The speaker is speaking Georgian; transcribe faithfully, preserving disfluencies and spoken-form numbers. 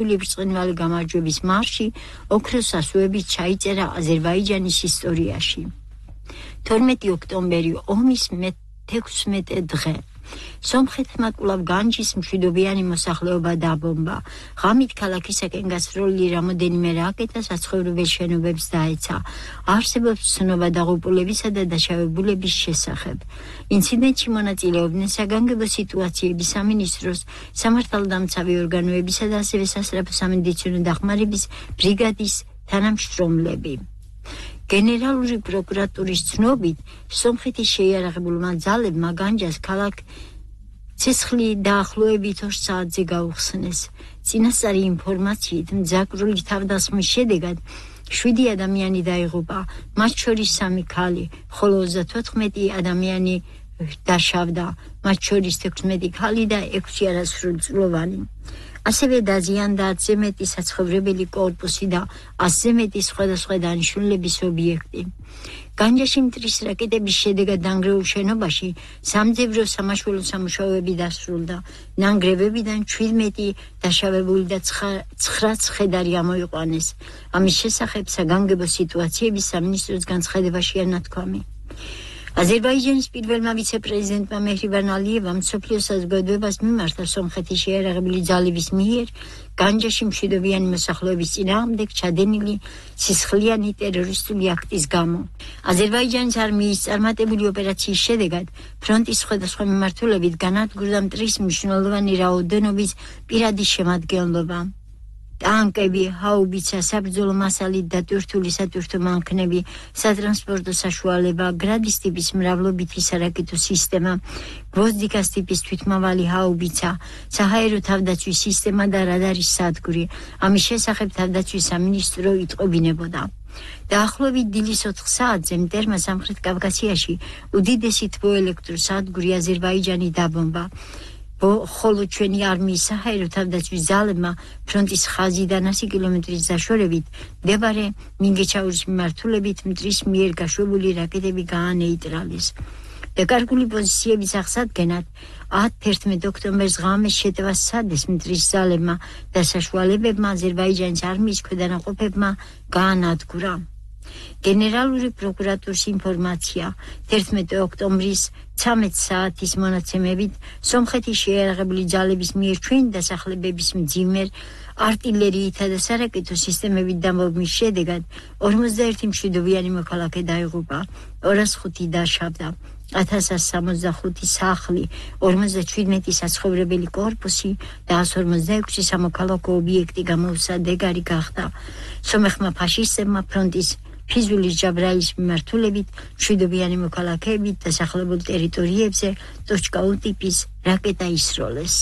ბრწყინვალე გამარჯვების მარში ოქროს ასოებით ჩაიწერა აზერბაიჯანის ისტორიაში. თორმეტი ოქტომბერი ომის მეთექვსმეტე დღე. სომხეთმა კვლავ განჯის მშვიდობიანი მოსახლეობა დაბომბა. ღამით ქალაქისაკენ გასროლილი რამოდენიმე რაკეტა საცხოვრებელ შენობებს დაეცა. არსებობს ცნობა დაღუპულებისა და დაშავებულების შესახებ. ინციდენტში მონაწილეობდნენ საგანგებო სიტუაციების სამინისტროს, სამართალდამცავი ორგანოებისა და ასევე სასწრაფო სამედიცინო დახმარების ბრიგადის თანამშრომლები. გენერალური პროკურატურის ცნობით, სომხეთის შეიარაღებულმა ძალებმა განჯას ქალაქ ცეცხლი დაახლოებით ორ საათზე გაუხსნეს. წინასწარი ინფორმაციით, მძაკრული თავდასხმის შედეგად შვიდი ადამიანი დაიღუპა, მათ შორის სამი ქალი, ხოლო ოცდათოთხმეტი ადამიანი დაშავდა, მათ შორის თექვსმეტი ქალი და ექვსი არასრულწლოვანი. ასევე დაზიანდა ათზე მეტი საცხოვრებელი კორპუსი და ასზე მეტი სხვადასხვა დანიშნულების ობიექტი. განჯაში მტრის რაკეტების შედეგად დანგრეულ შენობაში სამძებრო სამაშველო სამუშაოები დასრულდა. ნანგრევებიდან ჩვიდმეტი დაშავებული და ცხრა ცხედარი ამოიყვანეს. ამის შესახებ საგანგებო სიტუაციების სამინისტროს განცხადებაშია ნათქვამი. აზერბაიჯანის პირველმა ვიცე-პრეზიდენტმა მეჰრიბან ალიევამ მსოფლიო საზოგადოებას მიმართა სომხეთის შეიარაღებული ძალების მიერ განჯაში მშვიდობიანი მოსახლეობის წინააღმდეგ ჩადენილი სისხლიანი ტერორისტული აქტის გამო. აზერბაიჯანის არმიის წარმატებული ოპერაციის შედეგად ფრონტის სხვადასხვა მიმართულებით განადგურდა მტრის მნიშვნელოვანი რაოდენობის პირადი შემადგენლობა. ტანკები, ჰაუბიცა, საბრძოლო მასალით დატვირთული სატვირთო მანქანები, სატრანსპორტო საშუალება, გრადის ტიპის მრავლობითი სარაკეტო სისტემა, გვოზდიკას ტიპის თვითმავალი ჰაუბიცა, საჰაერო თავდაცვის სისტემა და რადარის სადგური. ამის შესახებ თავდაცვის სამინისტრო იტყობინებოდა. დაახლოებით დილის ოთხ საათზე მტერმა სამხრეთ კავკასიაში უდიდესი თბოელექტროსადგური აზერბაიჯანი დაბომბა. ხოლო ჩვენი არმიის საჰაერო თავდაცვის ძალებმა ფრონტის ხაზიდან ასი კილომეტრის დაშორებით მდებარე მინგეჩაურის მიმართულებით მტრის მიერ გაშვებული რაკეტები გაანეიტრალეს. დაკარგული პოზიციების აღსადგენად ათერთმეტ ოქტომბერს ღამეს შეტევა სცადეს მტრის ძალებმა და საშუალებებმა აზერბაიჯანის არმიის ქვედანაყოფებმა გაანადგურა. გენერალური პროკურატურის ინფორმაცია თერთმეტი ოქტომბრის ცამეტ საათის მონაცემებით სომხეთის შეიარაღებული ძალების მიერ ჩვენი დასახლებების მძიმერ არტილერიითა და სარაკეტო სისტემებით დამბობის შედეგად ორმოცდაერთი მშვიდობიანი მოქალაქე დაიღუპა, ორას ხუთი დაშავდა, ათას სამოცდახუთი სახლი, ორმოცდაჩვიდმეტი საცხოვრებელი კორპუსი და ასს ორმოცდაექვსი სამოქალაქო ობიექტი გამოუსადეგარი გახდა. სომეხმა ფაშისტებმა ფრონტის ფიზულის ჯაბრაილის მიმართულებით მშვიდობიანი მოქალაქეებით დასახლებულ ტერიტორიებზე ტოჩკაუ ტიპის რაკეტა ისროლეს.